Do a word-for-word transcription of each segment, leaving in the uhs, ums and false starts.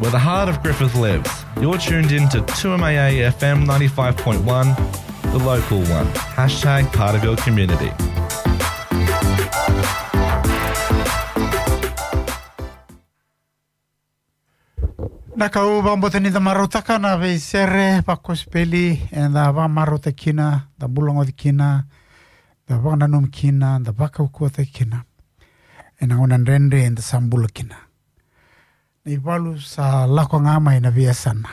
Where the heart of Griffith lives, you're tuned in to two M A A F M ninety-five point one, the local one. Hashtag part of your community. Na ka au vakabauta ni da marautaka na veisere vakosipeli eda vakamarautaki kina, da bulagoci kina, da vakananumi kina, da vakaukauataki kina ena gauna dredre eda sa bula kina. Na ivalu sa lako ga mai na veiyasana.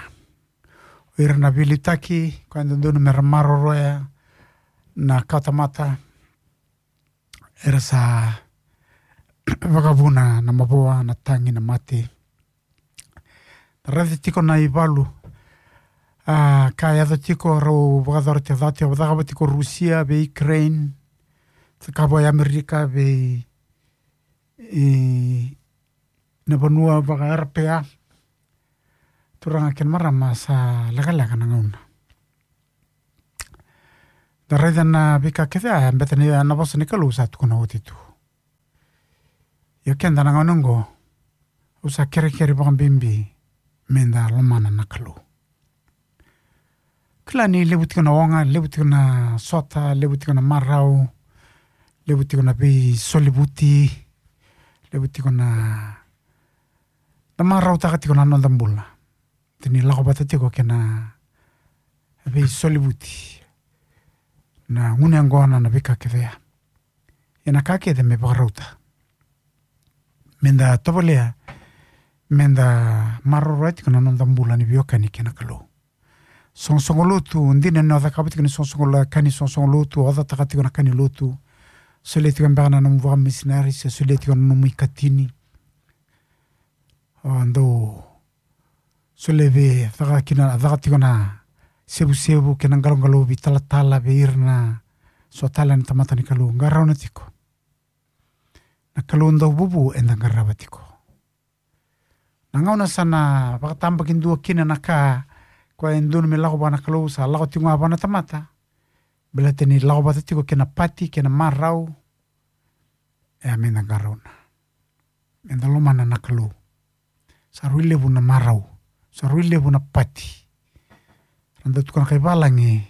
O ira na veiliutaki, koya e dodonu me ra maroroya na kawatamata, era sa vakavuna na mavoa, na tagi, na mate. Da raica tiko na ivalu, a, ka yaco tiko, rau vakayacora tiko, caka tiko, cakava tiko Rusia vei Ukraine, cakava i Amerika vei, i, na vanua vaka-Eropeya. Turaga kei na marama, sa lekaleka na gauna. Da raica na veika kece ya, baleta ni na vosa ni Kalou sa tukuna oti tu. Ia keda na gauna oqo, au sa kerekere vakabibi meda lomana na Kalou. Kila ni levu tiko na oga, levu tiko na sota, levu tiko na marau, levu tiko na veisolivuti, levu tiko na, na marautaka tiko na noda bula. Tini lako vata tiko kei na veisolivuti, na gunu yaqona, na veika kece ya. Ia na ka kece me vakarauta, meda tovolea meda maroroya tiko na noda bula ni veiwekani kei na Kalou. Soqosoqo lotu, dina ni o cakava tiko ni soqosoqo lo-, ka ni soqosoqo lotu, o cakava tiko na ka ni lotu, solia tiko beka na nomu vakamisinari, se solia tiko na nomu ikatini. O dau solia vei, caka kina, caka tiko na sevusevu kei na qaloqalovi, talatala vei ira na so tale na tamata ni Kalou. Qarauna tiko. Na Kalou dau vuvu eda qarava tiko. Na gauna sa na vakatabakidua kina na ka, koya e dodonu me lako vua na Kalou, sa lako tiko ga vua na tamata. Baleta ni lako vata tiko kei na pati, kei na marau. E a meda qarauna. Meda lomana na Kalou. Sa rui levu na marau. Sa rui levu na pati. Ra dau tukuna kai valagi,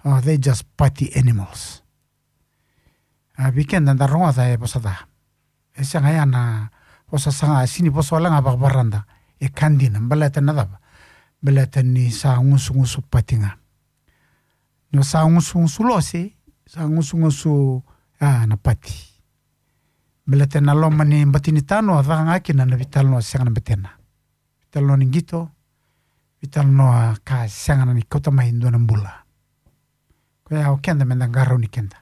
oh, they just party animals. A, vei keda da rogoca e vosa ca. E sega ya na vosa saga, sini vosa wale ga vakavarada. E ka dina, baleta na cava? Baleta ni sa gusugusu pati ga. Ni o sa gusugusu lose, sa gusugusu, a, na pati. Baleta na loma ni bati ni tanoa, caka ga kina na veitalanoa sega na betena. Veitalanoa ni qito, veitalanoa ka sega na ni kauta mai dua na bula. Koya o keda meda qarauni keda.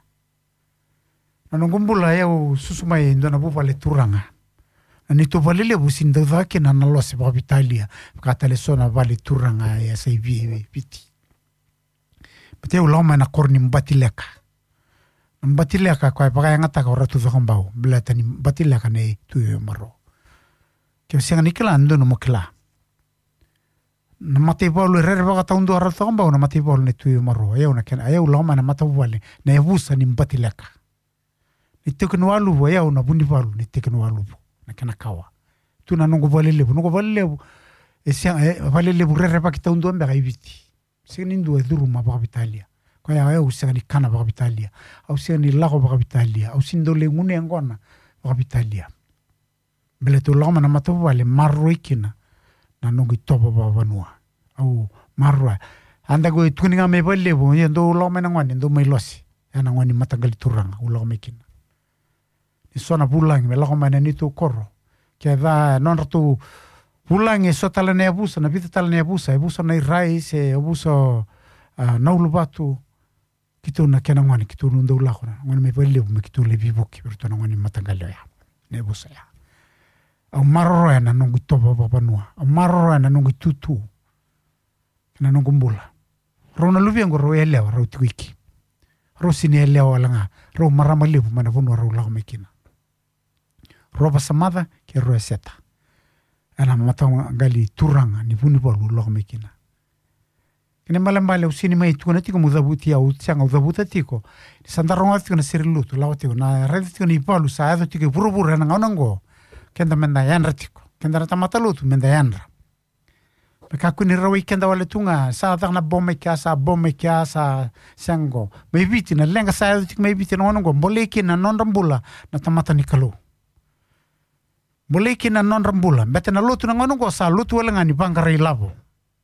Na noqu bula, e au susu mai e dua na vuvale turaga. Na neitou vale levu sini dau caka kina na lose vakaveitalia, vaka tale so na vale turaga e sa i Vi-, Viti. Baleta au lako mai na koro ni Batileka. Na Batileka koya e vakayagataka o Ratu Cakobau, baleta ni Batileka nei Tui Maro. Ke o sega ni kila, dodonu mo kila. Na mataivalu e rerevaka taudua o Ratu Cakobau, na mataivalu nei Tui Maro. E au na kena, e au lako mai na matavuvale, na yavusa ni Batileka. Ni tiko ni waluvu, e au na vunivalu ni tiko ni waluvu, na kena kawa. Tu na noqu vale levu, noqu vale levu, e sega, e vale levu rerevaki taudua beka i Viti. Sega ni dua e curuma vakaveitalia. Koya e au sega ni kana vakaveitalia. Au sega ni lako vakaveitalia. Au sega ni dau lai gunu yaqona vakaveitalia. Baleta au lako mai na matavuvale maroroi kina na noqu itovo vakavanua. Au maroroya. A daku e tukuni ga mai vale levu, ia dou lako mai na gone, dou mai lose. Ia na gone mataqali turaga, au lako mai kina. Ni so na vulagi me lako mai na neitou koro. Ke ca nodratou vulagi e so tale na yavusa, na vica tale na yavusa, yavusa na Irai se yavusa, a, na Uluvatu. Keitou na kena gone, keitou na dau lako na gone mai vale levu me keitou lai veivuke vei iratou na gone mataqali oya. Na yavusa ya. Au maroroya na noqu itovo vakavanua. Au maroroya na noqu itutu. Kei na noqu bula. Rau na luvequ rau yalewa, rau tiko iki. Rau sini yalewa wale ga. Rau marama levu mai na vanua rau lako mai kina. Rau Vasamaca kei Rau Eseta. Ena mataqali turaga ni vunivalu au lako mai kina. Kena ibalebale au sini mai tukuna tiko meu cavuti au, sega, au cavuta tiko. Ni sa da rogoca tiko na sere lotu, lako tiko, na raica tiko na ivalu sa yaco tiko e vuravura ena gauna oqo. Keda meda yadra tiko. Keda na tamata lotu meda yadra. Me kakua ni rawai keda wale tu ga, sa caka na bo mai kea, sa bo mai kea, sa sega qo. Mai Viti, na leqa sa yaco tiko mai Viti na gauna qo, bolei kina na nodra bula na tamata ni Kalou. Bolei kina na nodra bula. Bete na lotu na gauna qo sa lotu wale ga ni vaqara ilavo.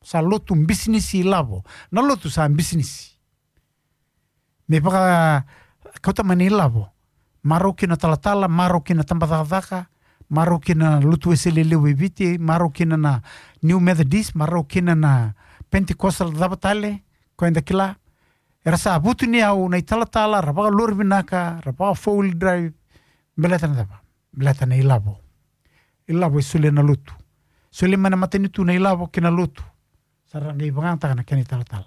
Sa lotu bisinisi ilavo. Na lotu sa bisinisi. Me vaka kauta mai na ilavo. Marau kina talatala, marau kina tabacakacaka, marau kina lotu Wesele levu e Viti, marau kina na New Methodist, marau kina na Pentecostal cava tale, ko eda kila. Era sa vutuniyau na italatala, ra vakalori vinaka, ra vaka four wheel drive, beleta na cava, beleta na ilavo. Ilavo e solia na lotu. Solia mai na matanitu na ilavo kei na lotu. Sa ra qai vakayagataka na kena italatala.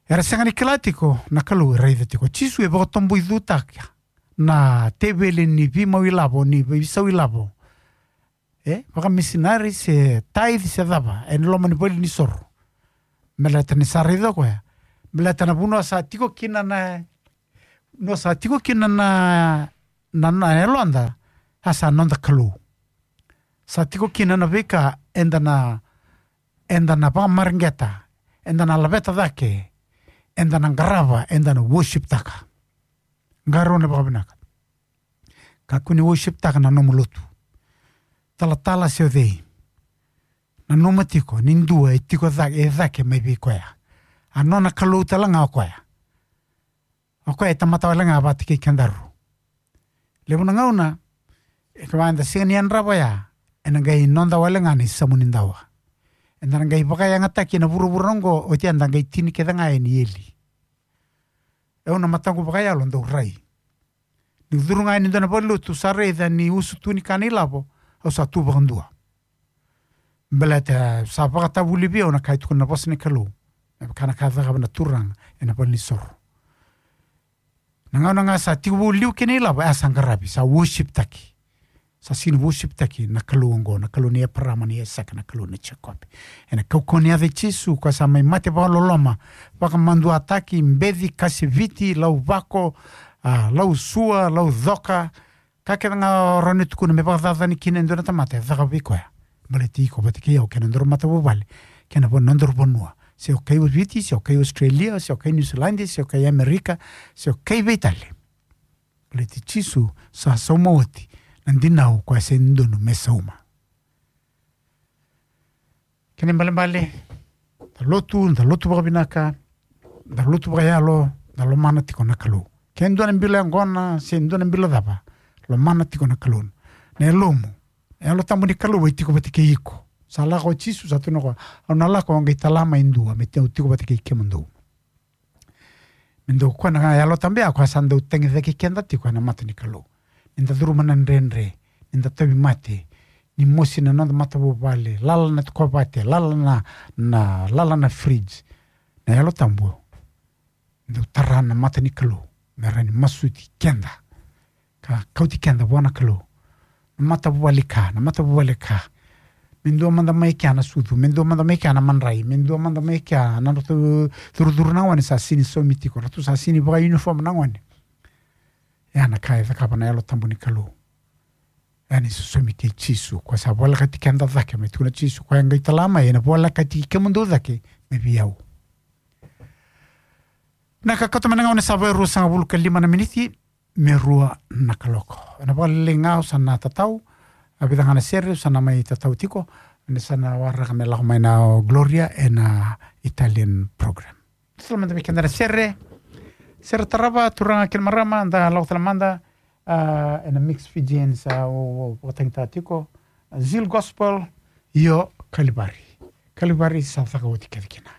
Era sega ni kila tiko na Kalou e raica tiko. Jisu e vakatoboicutaka na teveli ni veimau ilavo, ni veisau ilavo. E, vakamisinari se tithe se cava, ena loma ni vale ni soro. Baleta ni sa raica o koya. Baleta na vanua sa tiko kina na, vanua sa tiko kina na, na, na yaloda, a sa noda Kalou. Sa tiko kina na veika eda na, eda na vakamareqeta, eda na laveta cake, eda na qarava, eda na worship taka. Qarauna vakavinaka. Kakua ni worship taka na nomu lotu. Talatala se o cei. Nanuma tiko, ni dua e tiko cake, e cake mai vei koya. A nona Kalou tale ga o koya. O koya e tamata wale ga vata kei kedaru. Levu na gauna, e kevaka eda sega ni yadrava oya, ena qai noda wale ga na isamu ni dawa. Eda na qai vakayagataki ena vuravura oqo, oti eda qai tini kece ga yani i eli. E au na mataqu vakayalo dau rai. Niu curu ga yani dua na valenilotu sa raica ni usutu ni ka na ilavo, au sa tu vakadua. Baleta sa vakatavuli vei au na ka e tukuna na vosa ni Kalou. Me vaka na ka e cakava na turaga ena valenisoro. Na gauna ga sa tiko vou liu kei na ilavo, e a sa qaravi, sa worship taki. Sa sega ni worship taki na Kalou oqo, na Kalou ni Eparama, ni Aisake, na Kalou ni Jekope. Ena kaukauwa ni yaca i Jisu, koya sa mai mate vakaloloma, vakamaduataki, beci, kasiviti, lauvako, a, lausua, laucoka, ka kece ga o rawa ni tukuna me vakacacani kina e dua na tamata e caka vei koya. Baleti iko vata kei au kei na nodaru matavuvale, kei na va-, nodaru vanua. Se o kai Viti, se o kai Australia, se o kai New Zealand, se o kai Amerika, se o kai vei tale. Baleti Jisu sa sauma oti na dinau koya se dodonu me sauma. Kena ibalebale, da lotu, da lotu vakavinaka, da lotu vakayalo, da lomana tiko na Kalou. Ke dua na bilo yaqona, se dua na bilo cava, lomana tiko na Kalou. Na yalomu, na Yalo Tabu ni Kalou e tiko vata kei iko. Sa lako o Jisu, sa tukuna o koya, au na lako, au qai tala mai e dua, me tiko, tiko vata kei kemudou. Me dau koya na Yalo Tabu ya, koya sa dau tagicaki keda tiko ena mata ni Kalou. Ni da curuma na dredre, ni da tauvimate, ni mosi na noda matavuvale, lala na kovate, lala na, na, lala na fridge. Na Yalo Tabu dau tara na mata ni Kalou me rawa ni masuti keda ka kauti keda vua na Kalou. Na matavuvale ka, na matavuvale ka. Me dua mada mai kea na sucu, me dua mada mai kea na madrai, me dua mada mai kea na nodratou curucuru na gone sa sega ni saumi tiko, ratou sa sega ni vakauniform na gone. Ya na ka e cakava na Yalo Tabu ni Kalou. Ya ni sosomi kei Jisu, koya sa volekati keda cake, me tukuna Jisu, koya qai tala mai, ena volekati kemudou cake me vei au. Na ka kauta mai na gauna sa vo e ruasagavulu ka lima na miniti me rua na kaloko. Ena vakalelei ga au sa na tatau, a vica ga na sere au sa na mai tatau tiko, ni sa na waraka me lako mai na o Gloria ena Italian program. Tala mada vei keda na sere, sere tarava, turaga kei na marama, da lako tale mada, a, ena Mix Fijians, a, o, o, vakatagitaka tiko, a, Zeal Gospel, io, Kalivari. Kalivari sa caka oti kece kina.